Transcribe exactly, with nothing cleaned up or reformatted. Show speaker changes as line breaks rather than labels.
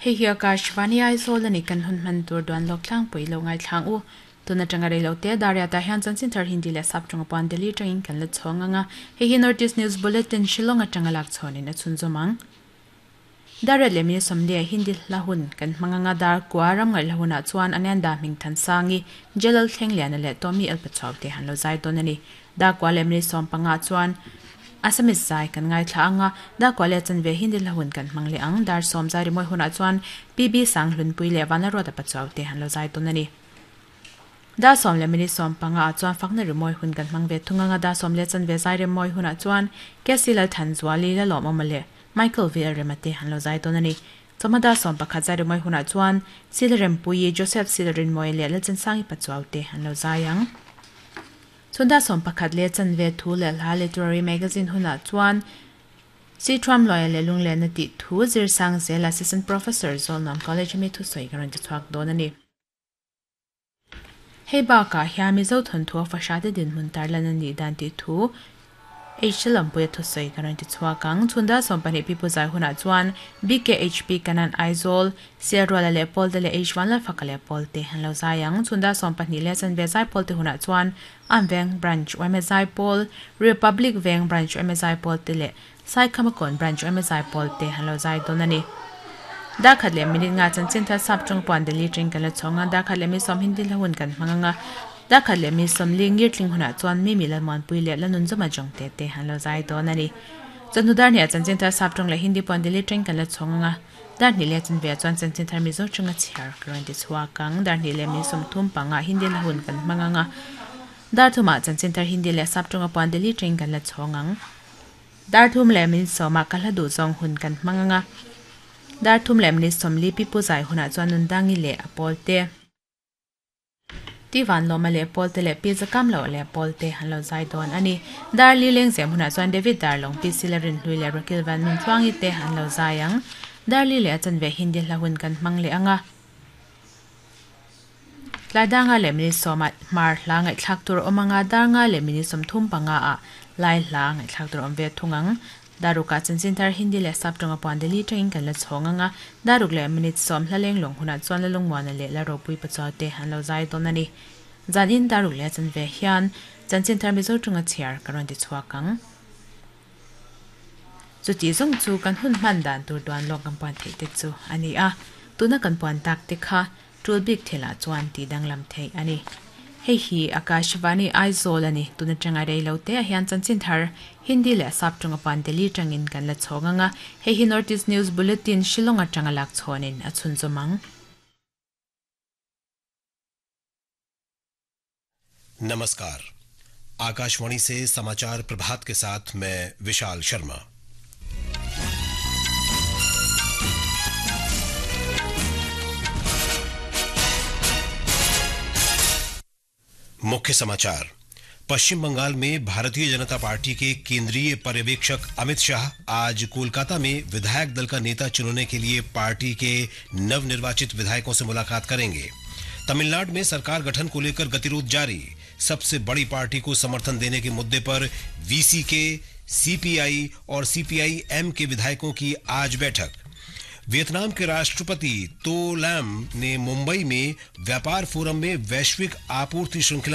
Hei hi Akashvani Aizawl ani kan hun hman tur duan lawk tlangpui lo ngai thlang u. Tuna tanga reilo te daria ta hian chanchin thar Hindi leh sap tawng puan Delhi tangin kan la chhawng anga. Hei hi North East News Bulletin Shillong atanga lak chhawnin a chhun zawmang. Daria leh mi sawmli Hindi hla hun kan hmanganga dar kwa ram ngai hla hunah chuan Ananda Hming Than Sangi Jalal Thleng Liana leh Tommy El Pachuau te han lo zai dawn ani. Dar kwa leh mi sawm panga chuan Assamese zai kan ngai thla anga da kwa le chanve Hindi hla hun kan hmang le ang dar som zai ri moi huna chuan P B Sang Hlunpui le Vanla Road Pachuau te han lo zai dawn ani. Da som le mini som panga chuan fakna ri moi hun kan hmang ve thunga da som le chanve zai ri moi huna chuan K C Lal Than Zuali la lom amale Michael V L Remate han lo zai dawn ani. Choma da som pakhat zai ri moi huna chuan Silrem Pui Joseph Silrin moi le Lalchan Sangi Pachuau te han lo zai ang. Chunda som pakhat le chanve thu le hla literary magazine huna chuan Si Tram Loya le lung le na ti thu zir sang zel assistant professor Zolnam College mi thu soi garan ti chuak dawn ani. Hei ba ka hian Mizo thon thu fa sha te din mun tar lan ani dan ti thu H Lampuia thu soi garan ti chuak ang. Chunda som pahnih pi pu zai huna chuan B K H P Kanan Aizawl Siarwala le Paul te le H one la faka le Paul te han lo zai ang. Chunda som pahnih le chanve zai Paul te huna chuan Amveng Branch M S I Paul Republic Veng Branch M S I Paul te le Saikhamakon Branch M S I Paul te han lo zai dawn ani. Da khat le minute nga chanchin thar sap tawng puan Delhi tring kan la chhawnga da khat le mi som Hindi hla hun kan hmanganga da khat le mi som li ngir tling huna chuan mi mi lalmuan pui le lanun zuma jong te te han lo zai dawn ani. Chanhu dar hnih chanchin thar sap tawng le Hindi puan Delhi tring kan la chhawnga dar hnih le chanve chuan chanchin thar Mizo tawng a chhiar karan ti chhuak ang. Dar hnih le mi som thum panga Hindi hla hun kan hmanganga dar thuma chanchin thar Hindi le sap tawng puan Delhi tring kan la chhawngang dar thum le min sawma ka hla duh zawng hun kan hmanganga dar thum le min sawmli pi pu zai huna chuan nun dangi le a pawl te ti van lawma le pawl te le pi zakam lo le pawl te han lo zai dawn ani. Dar li leng zem huna chuan David Darlong pi Silarin hlui le Rakil van nun chuangi te han lo zai ang. Dar li le chanve Hindi hla hun kan hmang le anga tlai danga le min sawma mar hla ngai thlak tur awmanga dar nga le min sawm thum panga a lai hla ngai thlak tur awm ve thungang. Daruka chanchin thar Hindi le sap tawng puan Delhi tangin kan la chhawnga daruk le minute som hla leng long huna chuan la lungmuana le la ropui pachaw te han lo zai dawn ani. Zan in daruk le chanve hian chanchin thar Mizo tawng a chhiar karon ti chhuak ang. Chuti zawng chu kan hun hman dan tur duan lawk kan puan theih te chu ani a. Tuna kan puan tak te kha tul bik thela chuan ti danglam thei ani. Hei hi Akashvani Aizawl ani. Tuna tanga reilo te hian chanchin thar Hindi le sap tawng puan Delhi tangin kan la chhawnga hei hi North East News Bulletin Shillong atanga lak chhawnin a chhun zawmang.
नमस्कार, आकाशवाणी से समाचार प्रभात के साथ मैं विशाल शर्मा। मुख्य समाचार। पश्चिम बंगाल में भारतीय जनता पार्टी के केंद्रीय पर्यवेक्षक अमित शाह आज कोलकाता में विधायक दल का नेता चुनने के लिए पार्टी के नवनिर्वाचित विधायकों से मुलाकात करेंगे। तमिलनाडु में सरकार गठन को लेकर गतिरोध जारी। सबसे बड़ी पार्टी को समर्थन देने के मुद्दे पर वीसीके, सीपीआई और सीपीआई एम के विधायकों की आज बैठक। वियतनाम के राष्ट्रपति तो लैम ने मुंबई में व्यापार फोरम में वैश्विक आपूर्ति श्रृंखला